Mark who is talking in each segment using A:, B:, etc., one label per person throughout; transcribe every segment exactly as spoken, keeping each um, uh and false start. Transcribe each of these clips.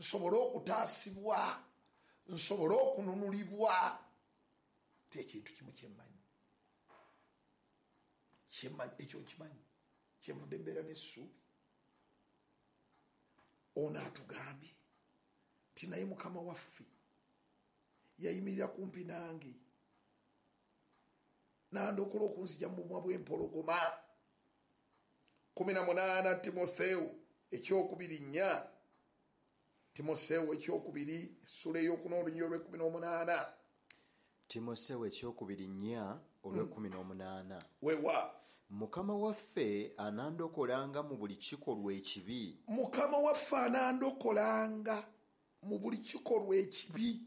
A: Nsobole okutaasibwa, nsobole okununulibwa. Ti ekintu kimu kyemmanyi, kyemmanyi, ekyo nkimanyi, kyenvudde mbeera n'essuubi. Ono atugambye nti naye Mukama waffe yayimirira kumpi nange nandokola okunzija mu bumwa bw'empologoma. Kumi na munaana Timotheo ekyokubiri nnya, Timotheo ekyokubiri essula ey'okuna olunyiriri olw'ekkumi n'omunaana.
B: Timotheo ekyokubiri nnya olw'ekkumi n'omunaana.
A: Wewa
B: Mukama waffe anandokolanga mu buli kikolwa ekibi.
A: Mukama waffe anandokolanga mu buli kikolwa ekibi.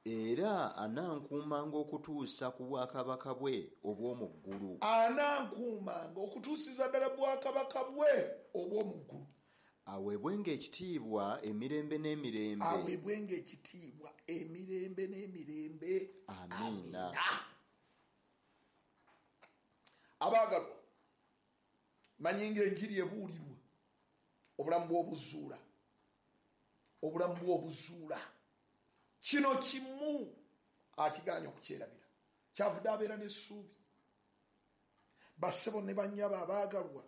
B: Era anankuumanga okutuusa ku bwakabaka bwe obw'omu ggulu.
A: Anankuumanga okutuusiza ddala bwakabaka bwe obw'omu ggulu.
B: Aweebwenga ekitiibwa emirembe n'emirembe.
A: Aweebwenga ekitiibwa emirembe n'emirembe.
B: Amiina.
A: Abaagalwa, manyi ng'enjiri ebuulirwa obulamu bw'obuzuula, obulamu bw'obuzuula. Kino kimu akigaanye okukyerabira, kyavudde abeera n'essuubi. Bassebo ne bannyabo abaagalwa,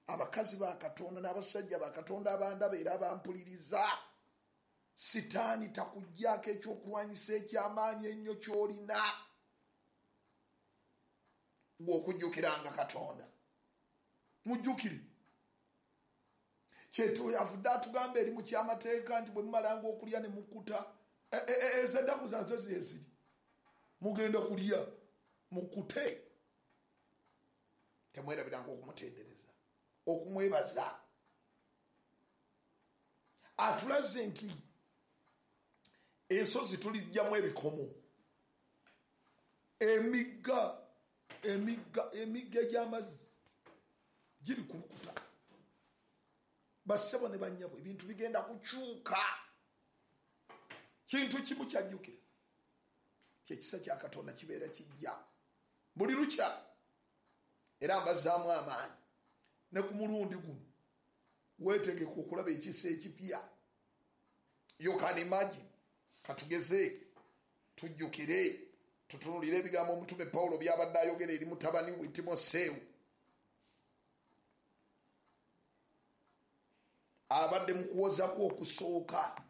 A: abakazi ba Katonda n'abasajja ba Katonda abandaba era abampuliriza, Sitaani takuggyako ekyokulwanyisa eky'amaanyi ennyo ky'olina bw'okujjukiranga Katonda. Mujjukire kyetu yavudde atugamba eri mu kyamateeka nti bwe mumalanga okulya ne mukkuta, ezo ennaku nazo zeziri, mugenda kulya mukkute. Temwerabiranga okumutendereza, okumwebaza. Atulaze nti ensozi tulijjamu ebikomo, emigga emigga emigga egy'amazzi giri kulukuta. Bassebo ne bannyabo, ebintu bigenda kukyuka. Kintu kimu kyajjukira, kyekisa kya Katonda kibeera kijja buli lukya, era mbazzaamu amaanyi. Ne ku mulundi guno weetegeka okulaba ekisa ekipya. You can imagine. Katugeze tujjukire, tutunuulire ebigambo omutume Pawulo by'abadde ayogera eri mutabani we Timoseewo. Abadde mu kuwozaku okusooka.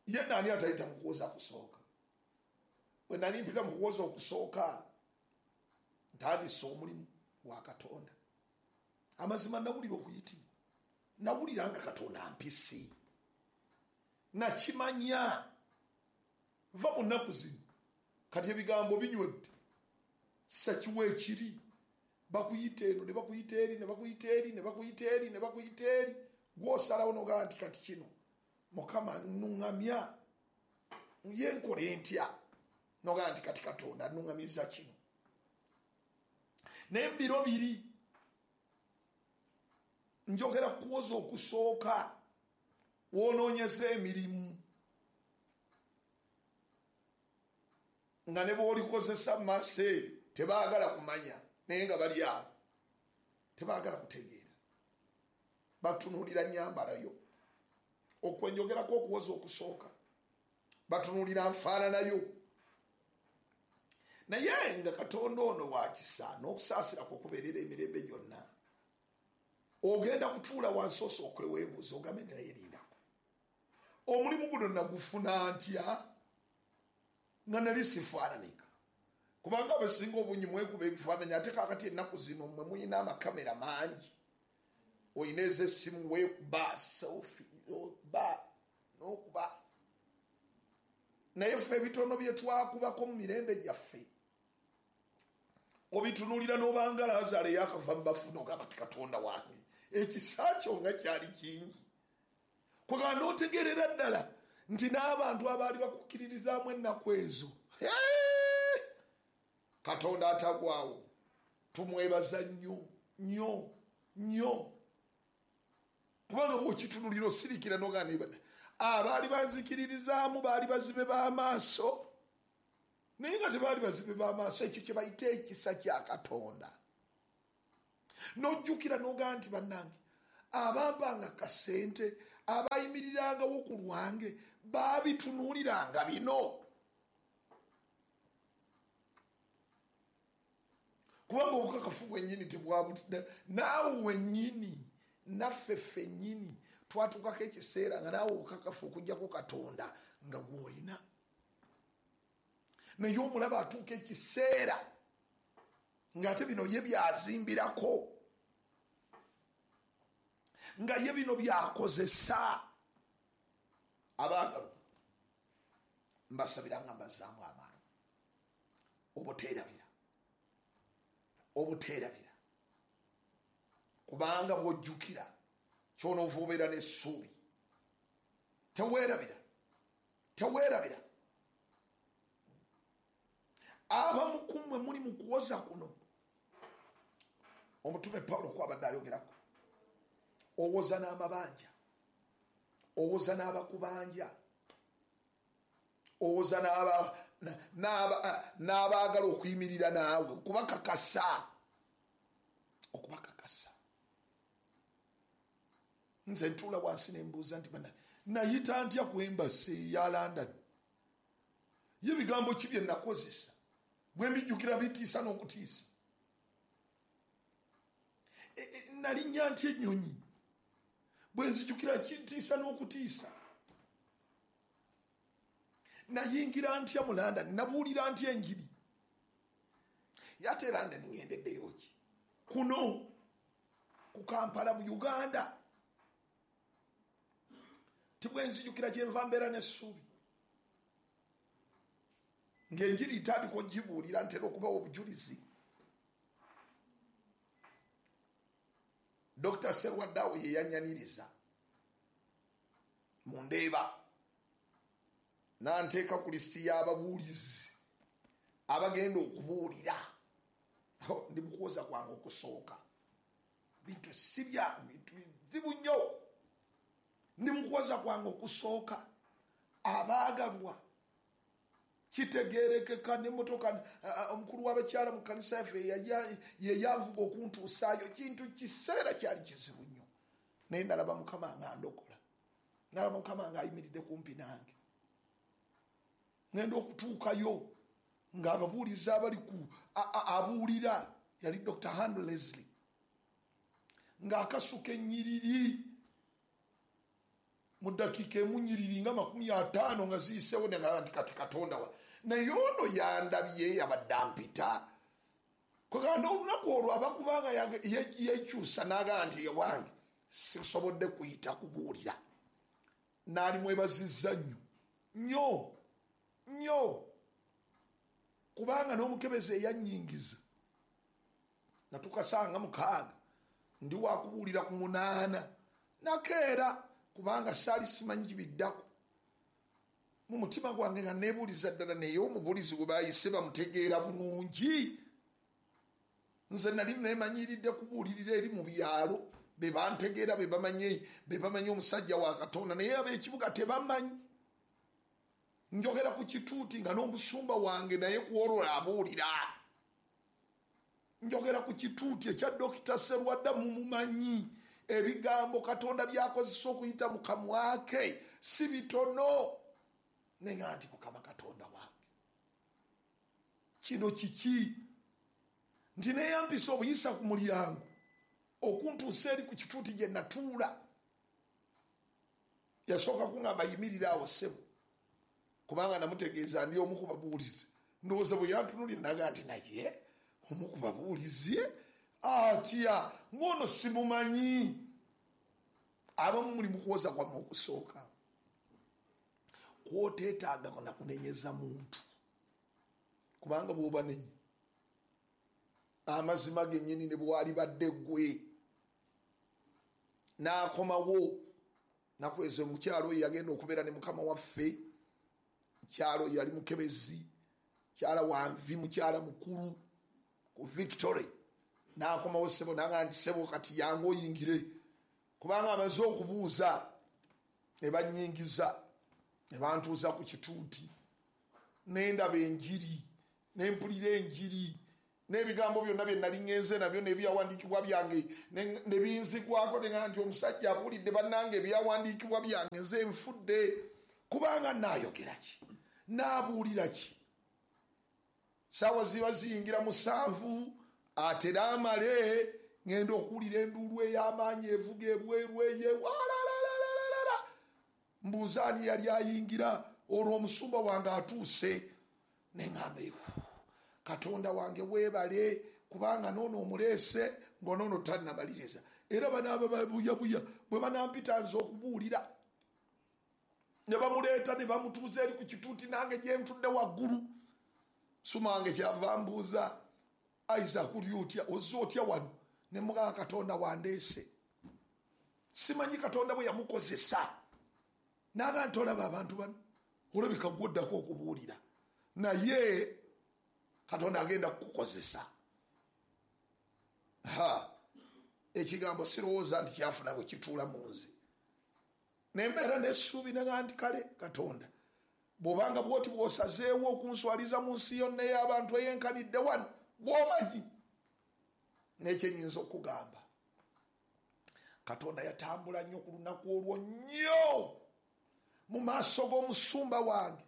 A: Ye nani atayita mu kuwoza kusooka? Bwe nali mpita mu kuwoza okusooka, ntandise omulimu wa Katonda. Amazima nawulira okuyitibwa, nawulira nga Katonda ampise, nakimanya. Va mu nnaku zino kati ebigambo binywedde, kisa kiwa ekiri, bakuyita eno ne bakuyita eri ne bakuyita eri ne bakuyita eri ne bakuyita eri, gw'osalawo n'ogamba nti kati kino Mukama nnuŋŋamya, ye nkole ntya? N'ogamba nti kati Katonda annuŋŋamizza kino. Naye mu biro biri njogera kuwoza okusooka, woonoonyeza emirimu nga ne bw'olikozesa mu maaso eyo tebaagala kumanya, naye nga bali awo tebaagala kutegeera, batunuulira nnyambalayo. Okwenjogerako okuwoza okusooka, batunuulira nfaananayo. Naye nga Katonda ono wa kisa n'okusaasira kwe kubeerera emirembe gyonna, ogenda kutuula wansi osooke weebuuze, ogambe nti naye lindako, omulimu guno nagufuna ntya nga nali sifaananika? Kubanga abasinga obungi mwekuba ebifaananyi, ate kaakati ennaku zino mmwe mulina amakamera mangi, oyina ez'essimu weekuba selfie, n'okuba n'okuba. Naye ffe ebitono bye twakubako mu mirembe gyaffe obitunuulira n'obanga Laazaalo eyakava mu bafu n'ogamba nti Katonda wange, ekisa kyo nga kyali kingi. Kwegamba n'otegeerera ddala nti n'abantu abaali bakukkiririzaamu ennaku ezo, Katonda atagwawo tumwebaza nnyo nnyo nnyo. Kubanga bw'okitunulira osirikira n'ogamba abaali banzikiririzaamu baali bazibe b'amaaso, naye nga tebaali bazibe b'amaaso. Ekyo kye bayita ekisa kya Katonda. N'ojjukira n'ogamba nti bannange, abampanga kasente, Abayimirirangawo ku lwange baabitunuuliranga bino. Kubanga obukakafu bwennyini tebwabutidde, naawe wennyini naffe ffennyini twatuukako ekiseera nga naawe obukakafu okuggyako Katonda nga gw'olina. Naye omulaba atuuka ekiseera ng'ate bino ye byazimbirako, nga ye bino byakozesa. Abaagalwa, mbasabira nga mbazaamu amaanyi obuteerabira, obuteerabira, kubanga bw'ojjukira ky'onoova obeera n'essuubi. Teweerabira, teweerabira. Abamu ku mmwe muli mu kuwoza kuno omutume Pawulo kwabadde ayogerako. Owoza n'amabanja, owoza n'abakubanja, owoza n'abaagala okuyimirira naawe, okubakakasa, okubakakasa. Nze ntuula wansi ne mbuuza nti bana nayita ntya ku embassy eya London? Ye bigambo ki bye nakozesa? Bwe mbijjukira bitiisa n'okutiisa. E, e, nalinnya ntya ennyonyi? Bwe nzijukira kintiisa n'okutiisa. Nayingira ntya mu London? Nabuulira ntya enjiri? Yate London ngendeddeyo ki? Kuno ku Kampala mu Uganda. Tibwe nzijukira gye nva mbeera n'essuubi. Ng'enjiri etandika ogibuulira ntera okubawa obujulizi. Dokita Serwaddawo ye yannyaniriza mu Ndeeba, n'anteeka ku lisiti y'ababuulizi abagenda okubuulira. Ndi mu kuwoza kwange okusooka, bintu si byangu, bintu bizibu nnyo. Ndi mu kuwoza kwange okusooka, abaagalwa, kitegeerekeka n'emmotoka. Omukulu w'abakyala mu kkanisa yaffe ye yanvuga okuntuusaayo. Kintu kiseera kyali kizibu nnyo, naye nalaba Mukama nga ndokola, nalaba Mukama ng'ayimiridde kumpi nange. Ngenda okutuukayo ng'ababuulizi abali ku abuulira yali Doctor Henry Leslie, ng'akasuka ennyiriri mu ddakiika emu nnyiriri nga makumi ataano nga ziyiseewo, negamba nti kati Katonda wa naye ono yandabye yabadde ampita. Kwegamba olunaku olwo abakubanga yekyusa n'agamba nti ewange sisobodde kuyita kubuulira. Naali mwebazizza nnyo nnyo nnyo, kubanga n'omukebezi eyannyingiza natukasanga mukaaga ndi wakubuulira ku munaana nakeera, kubanga saali simanyi biddako. Mu mutima gwange nga neebuuliza ddala, naye omubuulizi gwe baayise bamutegeera bulungi. Nze nali neemanyiridde kubuulirira eri mu byalo, be bantegeera, be bamanyi, be bamanyi omusajja wa Katonda, naye ab'ekibuga tebamanyi. Njogera ku kituuti nga n'omusumba wange naye ku olwo abuulira. Njogera ku kituuti ekya Dokita Serwadda mumumanyi. Ebigambo Katonda by'akozesa okuyita mu kamwa ke si bitono. Nenga nti Mukama Katonda wange, kino kiki? Nti neyampisa obuyisa ku mulyango okuntuusa eri ku kituuti gye natuula. Yasooka kuŋŋamba yimirira awo ssebo, kubanga namutegeeza ndi omu ku babuulizi. Ndowooza bwe yantunuulira n'agamba nti naye omu ku babuulizi atya ng'ono simumanyi. Abamu muli mu kuwoza kwammwe okusooka kwoteetaaga na kunenyeza muntu, kubanga bw'obanenye amazima gennyini ne bwalibadde ggwe. N'akomawo nakweza omukyalo oyo yagenda okubeera ne mukama waffe. Mukyalo oyo yali mukebezi, mukyala wanvi, mukyala mukulu ku Victory. N'akomawo ssebo n'agamba nti ssebo kati yangu oyingire, kubanga amaze okubuuza. Ne bannyingiza ne bantuuza ku kituuti, ne ndaba enjiri, ne mpulira enjiri, N'ebigambo byonna bye nali ngenze nabyo n'ebyawandiikibwa byange ne binzigwako, ne nga nti omusajja abuulidde bannange ebyawandiikibwa byange, nze nfudde, kubanga naayogera ki, naabuulira ki? Saawa ziba ziyingira musanvu, atera amale ngenda okuwulira enduulu ey'amaanyi evuga ebweru eye walalalalala. Mbuuza ani yali ayingira, olwo omusumba wange atuuse. Ne ŋŋamba, Katonda wange weebale, kubanga noono omuleese ng'onoono tannamaliriza. Era banaaba babuyabuya bwe banampita nze okubuulira, ne bamuleeta ne bamutuuza eri ku kituuti, nange gye ntudde waggulu. Suma wange kyava mbuuza, Isaac oli otya, ozze otya wano? Ne mugamba, Katonda wandeese. Simanyi Katonda bwe yamukozesa. Naga nti olaba abantu bano, olabika gwoddako okubuulira, naye Katonda agenda kukukozesa. Ha, ekigambo sirowooza nti kyafuna bwe kituula mu nze. Nembeera n'essuubi naga nti kale Katonda, bw'obanga bw'oti bw'osazeewo okunswaliza mu nsi yonna ey'abantu eyenkanidde wano, bw'omanyi. N'ekyenyinza okugamba, Katonda yatambula nnyo ku lunaku olwo nnyo mu maaso g'omusumba wange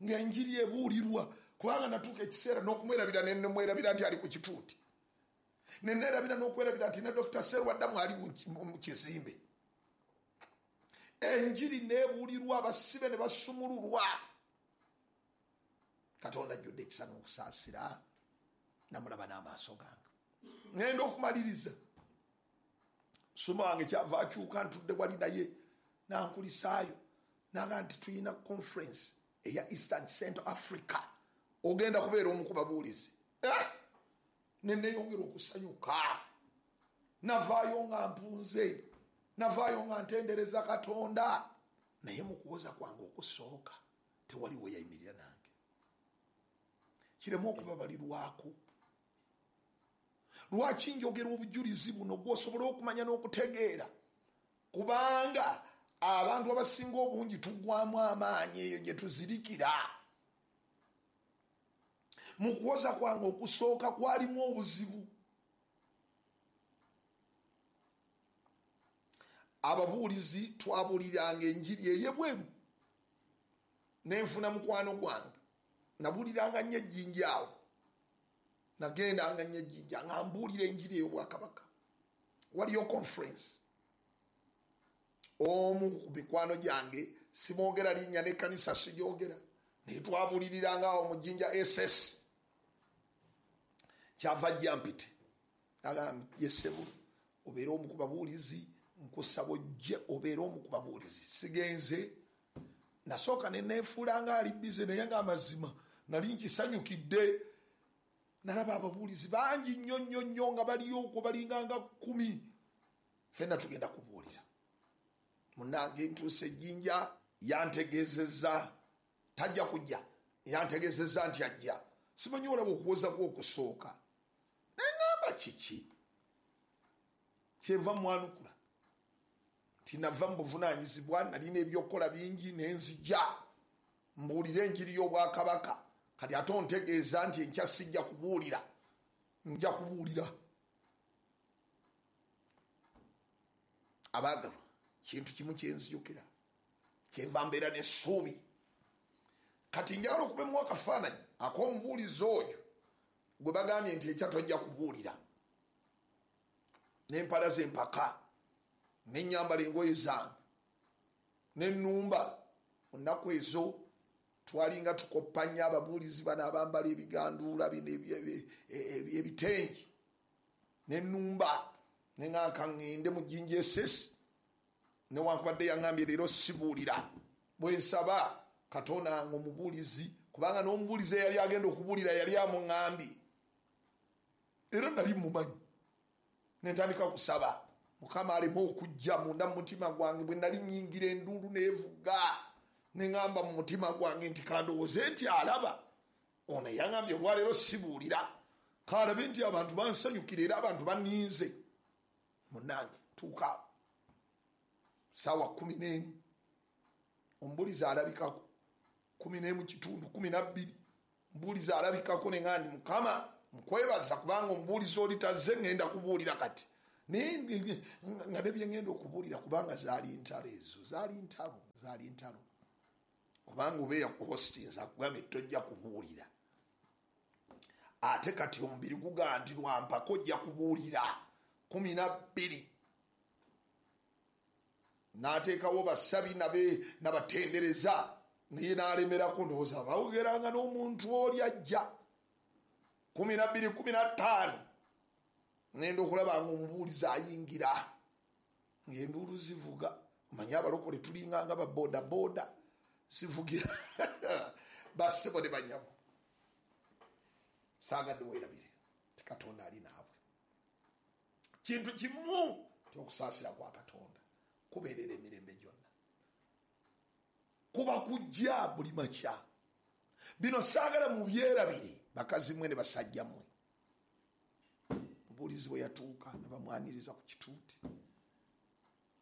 A: ng'enjiri ebuulirwa, kubanga natuuka ekiseera n'okumwerabira, ne nemwerabira nti ali ku kituuti, ne neerabira n'okwerabira nti ne Dokita Serwaddamu ali mu kizimbe. Enjiri n'ebuulirwa, abasibe ne basumululwa. Katonda ajjudde ekisa n'okusaasira, namulaba n'amaaso gange. Ngenda okumaliriza, musumba wange kyava akyuka, ntudde wali naye nankulisaayo, naga nti tulina conference eya Eastern Central Africa, ogenda kubeera omu ku babuulizi. Eh! Ne neeyongera okusanyuka, navaayo nga mpunze, navaayo nga ntendereza Katonda. Naye mu kuwoza kwange okusooka tewali we yayimirira nange. Kireme okubabalirwako. Lwaki njogera obujulizi buno gw'osobola okumanya n'okutegeera? Kubanga abantu abasinga obungi tuggwamu amaanyi eyo gye tuzirikira. Mu kuwoza kwange okusooka kwalimu obuzibu. Ababuulizi twabuuliranga enjiri ey'ebweru, nenfuna mukwano gwange, nabuuliranga nnyo ejjinja awo, nagendanga nnyo ejjinja nga mbuulira enjiri ey'obwakabaka. Waliyo conference, omu ku mikwano gyange, simwogera linnya n'ekkanisa sigyogera, naye twabuuliriranga awo mu Jjinja S S. Kyava ajja mpite, agamba yesebo, obeere omu ku babuulizi, nkusaba ojje obeere omu ku babuulizi. Sigenze, nasooka ne neefuula nga ali bize, naye ng'amazima nali nkisanyukidde. Nalaba ababuulizi bangi nnyo nnyo nnyo nga baliyo okwo, balinga nga kkumi. Ffenna tugenda kubuulira. Munnange ntuuse Jjinja, yantegeezezza tajja kujja, yantegeezezza nti ajja. Simanyi olaba okuwoza kwe okusooka, ne ŋŋamba kiki? Kyenva mwanukula nti nava mu buvunaanyizibwa, nalina ebyokukola bingi, ne nzija mbuulire enjiri y'obwakabaka. Kati ate ontegeeza nti enkya sijja kubuulira, nja kubuulira. Abaagalwa, kintu kimu kyenzijukira, kyenva mbeera n'essuubi. Kati njagala okubemu akafaananyi ak'omubuulizi oyo gwe bagambye nti enkya tojja kubuulira, n'empala z'empaka, n'ennyambala engoye zange, n'ennumba. Mu nnaku ezo twalinga tukoppa nnyo ababuulizi bano abambala ebiganduula bino ebitengi, n'ennumba. Ne ŋŋanka ŋŋende mu Jjinja S S, newankubadde yaŋŋambye leero sibuulira. Bwe nsaba Katonda wange omubuulizi, kubanga n'omubuulizi eyali agenda okubuulira yali amuŋŋambye, era nali mumanyi. Ne ntandika kusaba Mukama aleme okujja munda mu mutima gwange. Bwe nali nnyingira enduulu n'evuga, ne ŋŋamba mu mutima gwange nti kandowooze nti alaba ono yaŋŋambye olwaleero sibuulira, kalabe nti abantu bansanyukira era abantu banninze. Munnange tuuka saawa kumi n'emu, omubuulizi alabikako kumi n'emu kitundu, kumi na bbiri, omubuulizi alabikako. Ne ŋŋamba nti Mukama Nkwebaza kubanga omubuulizi oli tazze, ŋŋenda kubuulira kati. Naye nga ne bye ŋŋenda okubuulira, kubanga zaali ntalo ezo, zaali ntalo, zaali ntalo. Kubanga oba eyakuhostinza akugambye tojja kubuulira. Ate kati omubiri gugamba nti lwampaka ojja kubuulira kumi na bbiri. N'ateekawo basabi nabe nabatendereza, naye n'alemerako, ndowooza bawogeranga n'omuntu oli ajja. Kumi na bbiri kumi na ttaano ngenda okulaba nga omubuulizi ayingira, ng'enduulu zivuga. Omanyi abalokole tulinga nga baboodabooda, zivugira bassebo ne bannyabo. Saagadde weerabire ti Katonda ali naabwe. Kintu kimu ti okusaasira kwa Katonda kubeerera emirembe gyonna, kuba kujja buli makya. Bino saagala mubyerabire, bakazi mmwe ne basajja mmwe. Omubuulizi bwe yatuuka ne bamwaniriza ku kituuti,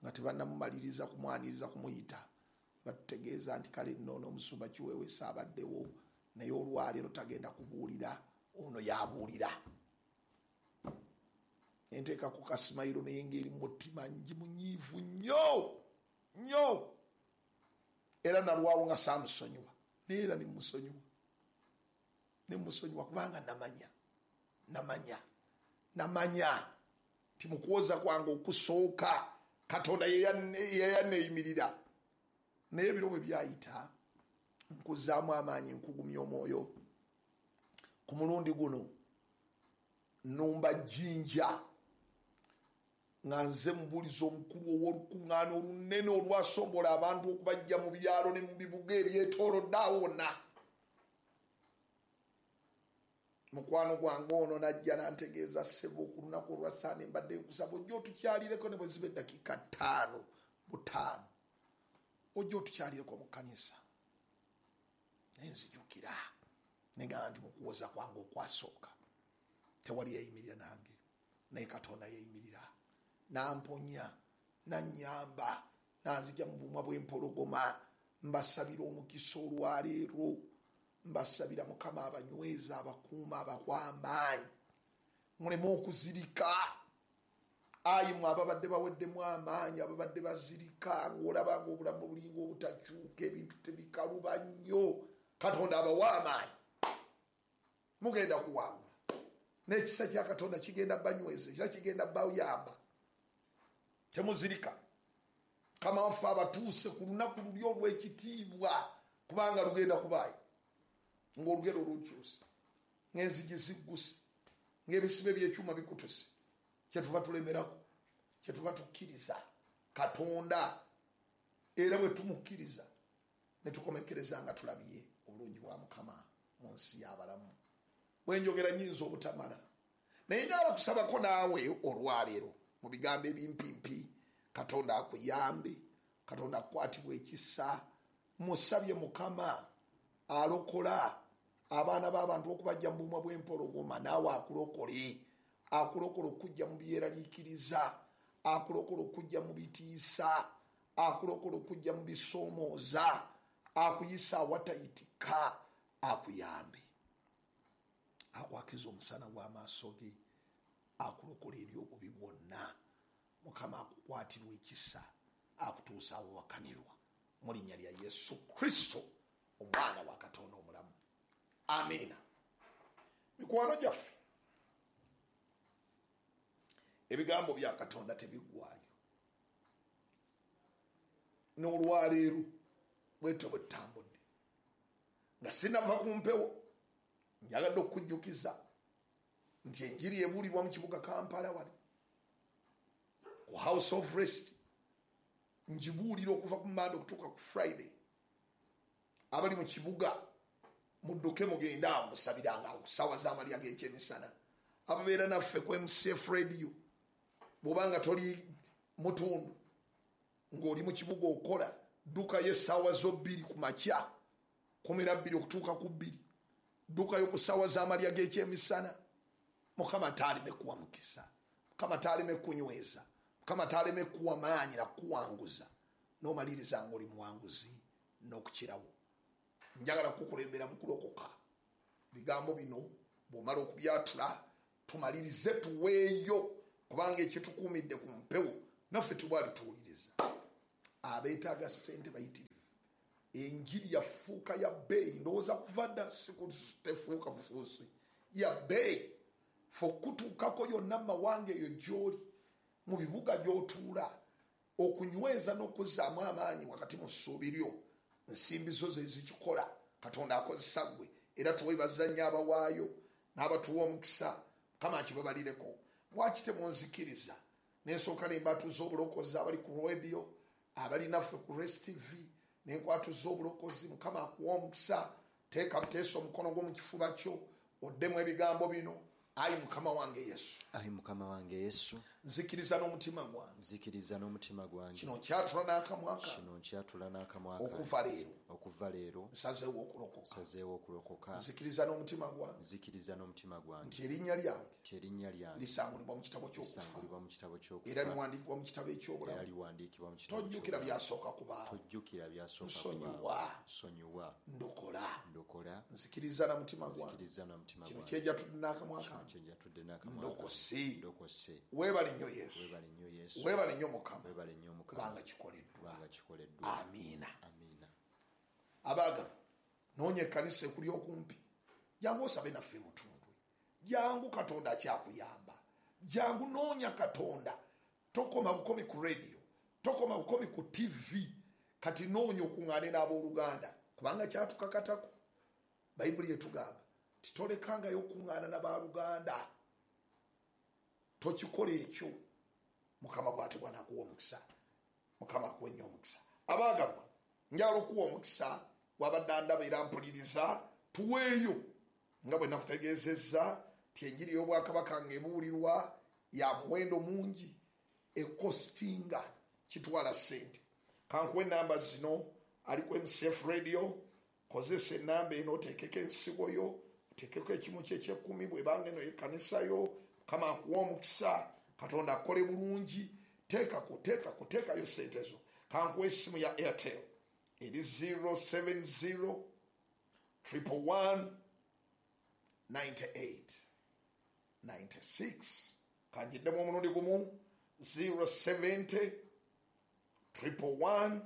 A: nga tebannamumaliriza kumwaniriza kumuyita, batutegeeza nti kale nno n'omusumba Kiweeweesi abaddewo, naye olwaleero tagenda kubuulira, ono yabuulira. Enteeka ku kasimayiro, naye ng'eri mu mutima ngi munyiivu nnyo nnyo, era nalwawo nga saamusonyiwa, naye era ne mmusonyiwa, ne mmusonyiwa, kubanga namanya namanya namanya nti mu kuwoza kwange okusooka Katonda yeyanneeyimirira. Naye ebiro bwe byayita, nkuzaamu amaanyi, nkugumya omwoyo. Ku mulundi guno nnumba Jjinja nga nze mubuulizi omukulu ow'olukuŋŋaana olunene olwasombola abantu okubajja mu byalo ne mu bibuga ebyetoolodde awo wonna. Mukwano gwange ono najja n'antegeeza, ssebo, ku lunaku olwa Sande mbadde nkusaba ojja otukyalireko, ne bwe ziba eddakiika ttaano butaano, ojja otukyalireko mu kkanisa. Naye nzijukira negamba nti mu kuwoza kwange okwasooka tewali yeeyimirira nange, naye Katonda yeeyimirira n'amponya, n'annyamba, n'anzija mu bumwa bw'empologoma. Mbasabira omukisa olwaleero, mbasabira Mukama abanyweza, abakuuma, abawa amaanyi, muleme okuzirika. Ayi mwe ababadde baweddemu amaanyi, ababadde bazirika, ng'olaba ng'obulamu bulinga obutakyuka, ebintu tebikaluba nnyo, Katonda abawa amaanyi, mugenda kuwangula. N'ekisa kya Katonda kigenda banyweza, era kigenda bayamba. Temuzirika. Mukama waffe abatuuse ku lunaku luli olw'ekitiibwa, kubanga lugenda kubaayo ng'olugero olukyuse, ng'enzigi zigguse, ng'ebisibe by'ekyuma bikutuse. Kyetuva tulemerako, kyetuva tukkiriza Katonda, era bwe tumukkiriza ne tukomekereza nga tulabye obulungi bwa Mukama mu nsi y'abalamu. Bwe njogera nnyinza obutamala, naye njagala kusabako naawe olwaleero mu bigambo ebimpimpi. Katonda akuyambe, Katonda akukwatibwa ekisa. Musabye Mukama alokola abaana b'abantu okubajja mu bumwa bw'empologoma, naawe akulokole, akulokole okujja mu byeraliikiriza, akulokole okujja mu bitiisa, akulokole okujja mu bisoomooza, akuyisa awatayitika, akuyambe, akwakiza omusana gw'amaaso ge, akulokola eri obubi bwonna. Mukama akukwatirwa ekisa, akutuusa awawakanirwa, mu linnya lya Yesu Kristo, omwana wa Katonda omulamu, amiina. Mikwano gyaffe, ebigambo bya Katonda tebiggwayo. N'olwaleero bwetyo bwe tutambudde. Nga sinava ku mpewo, njagadde okukujjukiza nti enjiri ebuulirwa mu kibuga Kampala wali ku House of Rest. Ngibuulira okuva ku Mande okutuuka ku Friday. Abali mu kibuga mudduke mugende awo, musabiranga awo ku ssaawa z'amalya g'ekyemisana. Ababeera naffe ku M C F Radio, bw'obanga toli mutundu ng'oli mu kibuga okola, ddukayo essaawa zo bbiri ku makya, kumi na bbiri okutuuka ku bbiri, ddukayo ku ssaawa z'amalya g'ekyemisana. Mukama taaleme kuwa mukisa, Mukama taaleme kunyweza, Mukama taaleme kuwa maanyi nakuwanguza, n'omaliriza ng'oli muwanguzi n'okukirawo. Njagala kukulembera mu kulokoka. Bigambo bino. Bw'omala okubyatula tumalirize tuweeyo, kubanga ekitukuumidde ku mpewo naffe tubwali tuwuliriza. Abeetaaga ssente bayitirivu. Enjiri yafuuka ya bbeeyi, ndowooza kuva dda sikutefuuka bufuusi, ya bbeeyi. Fe okutuukako yonna mu mawanga eyo gy'oli, mu bibuga gy'otuula, okunyweza n'okuzzaamu amaanyi wakati mu ssuubi lyo, nsimbi zo ze zikikola. Katonda akozesa ggwe, era tuweebaza nnyo abawaayo n'abatuwa omukisa. Mukama akibabalireko. Lwaki temunzikiriza nensooka ne mbatuuza obulokozi abali ku radio, abali naffe ku Rest T V, nenkwatuza obulokozi. Mukama akuwa omukisa. Teeka buteesa omukono gwo mu kifuba kyo, oddemu ebigambo bino. Ayi Mukama wange Yesu,
B: ayi Mukama wange Yesu,
A: nzikiriza n'omutima gwange,
B: nzikiriza n'omutima gwange,
A: kino nkyatula n'akamwa kange,
B: kino nkyatula n'akamwa kange,
A: okuva leero,
B: okuva leero,
A: nsazeewo okulokoka,
B: nsazeewo okulokoka,
A: nzikiriza n'omutima gwange,
B: nzikiriza n'omutima gwange,
A: nti erinnya lyange,
B: nti erinnya lyange
A: lisangulibwa mu kitabo ky'okufa,
B: lisangulibwa mu kitabo ky'okufa,
A: era liwandiikibwa mu kitabo eky'obulamu,
B: era liwandiikibwa mu kitabo.
A: Tojjukira byasooka kubaawo,
B: tojjukira byasooka
A: kubaawo,
B: nsonyiwa,
A: ndokola,
B: ndokola,
A: nzikiriza na mutima gwange,
B: nzikiriza na mutima
A: kino
B: gwange,
A: kyejatudde n'akamwa kange,
B: kyejatudde n'akamwa kange,
A: ndokose,
B: ndokose.
A: Weebale nnyo Yesu,
B: weebale nnyo Yesu,
A: weebale nnyo Mukama,
B: weebale nnyo Mukama,
A: kubanga kikoleddwa,
B: kubanga kikoleddwa.
A: Amiina,
B: amiina.
A: Abaagalwa, noonya ekkanisa ekuli okumpi, jangu osabe naffe mutundwe, jangu Katonda akyakuyamba, jangu noonya Katonda. Tokoma bukomi ku radio, tokoma bukomi ku T V, kati noonya okuŋŋaane n'abooluganda, kubanga kyatukakatako. Bayibuli etugamba titolekangayo okuŋŋaana n'abaluganda, tokikola ekyo. Mukama bw'atyo bw'anaakuwa omukisa. Mukama akuwe nnyo omukisa. Abaagalwa, njagala okuwa omukisa wabadde andaba era mpuliriza, tuweeyo nga bwe nakutegeezezza nti enjiri y'obwakabaka ng'ebuulirwa ya muwendo mungi, ekostinga kitwala ssente. Kankuwe ennamba zino, ali ku M C F Radio, kozesa ennamba eno, oteekeko ensigo yo, oteekeko ekimu ky'ekyekkumi bw'ebanga eno y'ekkanisa yo. Mukama akuwa omukisa, Katonda akole bulungi. Teekako, teekako, teekayo ssente zo. Kankuwe essimu ya Airtel eri zero seven zero triple one ninety eight ninety six. Kangiddemu omulundi gumu, zero seventy triple one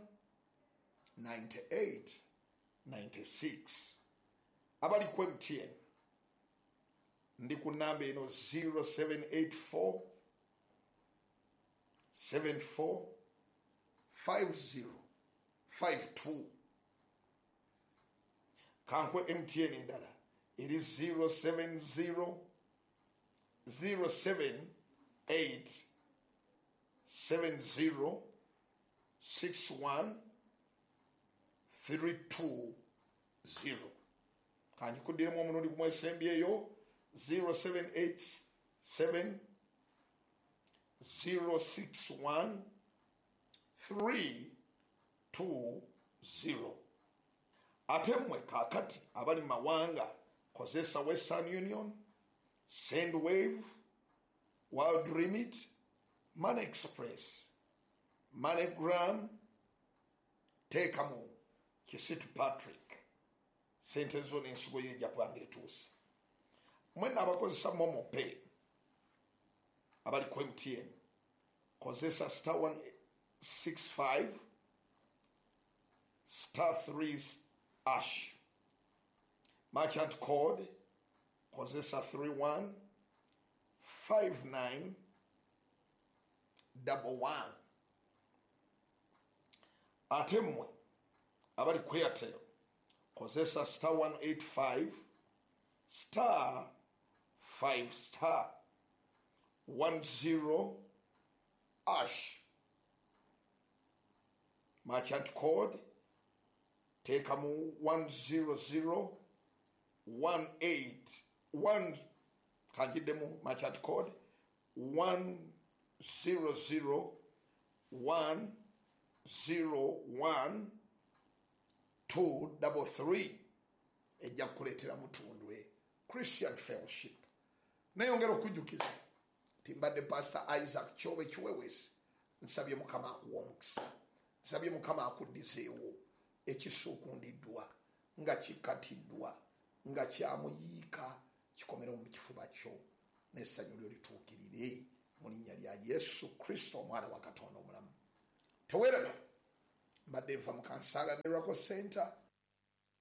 A: ninety eight ninety six. Abali ku M T N ndi ku namba eno zero seven eight four seven four five zero five two. Kankwe M T N endala eri zero seven zero zero seven eight seven zero six one three two zero. Kanjikuddiremu omulundi gumu esembyeyo, zero seven eight seven zero six one three two zero. Ate mmwe kaakati abali mu mawanga, kozesa Western Union, Sendwave, World Remit, Money Express, MoneyGram, teekamu Kisitu Patrick, sente zo n'ensigo y'ejja kubanga etuuse. Mwenna abakozesa Momo Pay abali ku M T N, kozesa star one six five star three hash. Merchant code kozesa three one five nine double one. Ate mmwe abali ku Airtel, kozesa star one eight five star five star one zero hash. Merchant code teekamu one zero zero one eight one. Kanjiddemu merchant code one zero zero one zero one two double three. Ejja kukuleetera Mutundwe Christian Fellowship. Neyongera okujjukiza nti mbadde Pastor Isaac Kyobe Kiwewesi. Nsabye Mukama akuwa omukisa, nsabye Mukama akuddizeewo ekisuukundiddwa nga kikatiddwa nga kyamuyiika Kikomero mu kifuba kyo, n'essanyu lyo lituukirire mu linnya lya Yesu Kristo, omwana wa Katonda omulamu. Teweeraba, mbadde nva mu Kansanga Miracle Center.